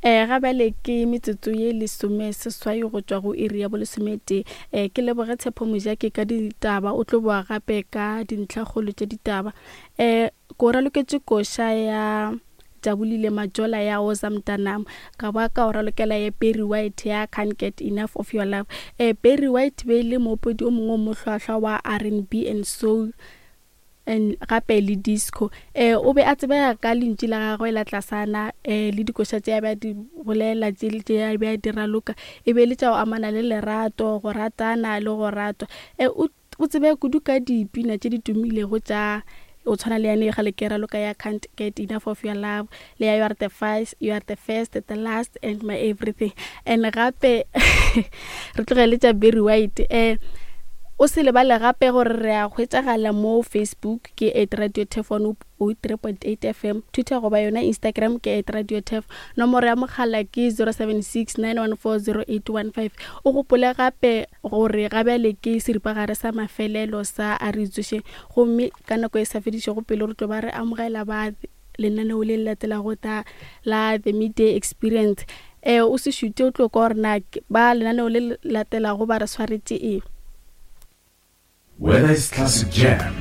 Um ga bjale ke metsotso ye lesomeseswai go tšwa go iri ya bolesometee. Um ke leboge Tshepo Mojaki ka ditaba, o tlo boa gape ka dintlhakgolo tša ditaba. Um ko raloketše koša ya Jabulile Majola ya Woza Mntanam, ka ba ka o ralokela ya Barry White ya Can't Get Enough of Your Love. Um Barry White be e le moopedi o mongwe o mohlwahlwa wa R&B and soul. And gape le disco. Eh, o be a tsebega ka lentšu la gagwe la tlasana eh, le dikoša tše a be a di bolela, tše tše a be a di raloka, e be e le tša go amana le lerato, go ratana le go ratwa. Eh, o, o tsebega kudu ka dipina tše di tumilego tša go tshwana le yane kgale ke raloka ya Can't Get Enough of Your Love, le ya You Are The First, You Are The First, The Last and My Everything. And gape re tlogele tša Barry White. Eh, O se lebale gape gore re a hwetšagala mo Facebook ke at Radio Turf 103.8 FM, Twitter goba yona Instagram ke at Radio Turf. Nomoro ya mogala ke 076 914 0815. O gopole gape gore ga bjale ke seripagare sa mafelelo sa A Re Itsošeng gomme ka nako e sa fedišego pelo re tlo ba re amogela ba lenaneo le le latelago ta la The Midday Experience. Eh, o se šute o tlo kwa gore na ba lenaneo le le latelago ba re swaretše eng. Whether it's classic jam,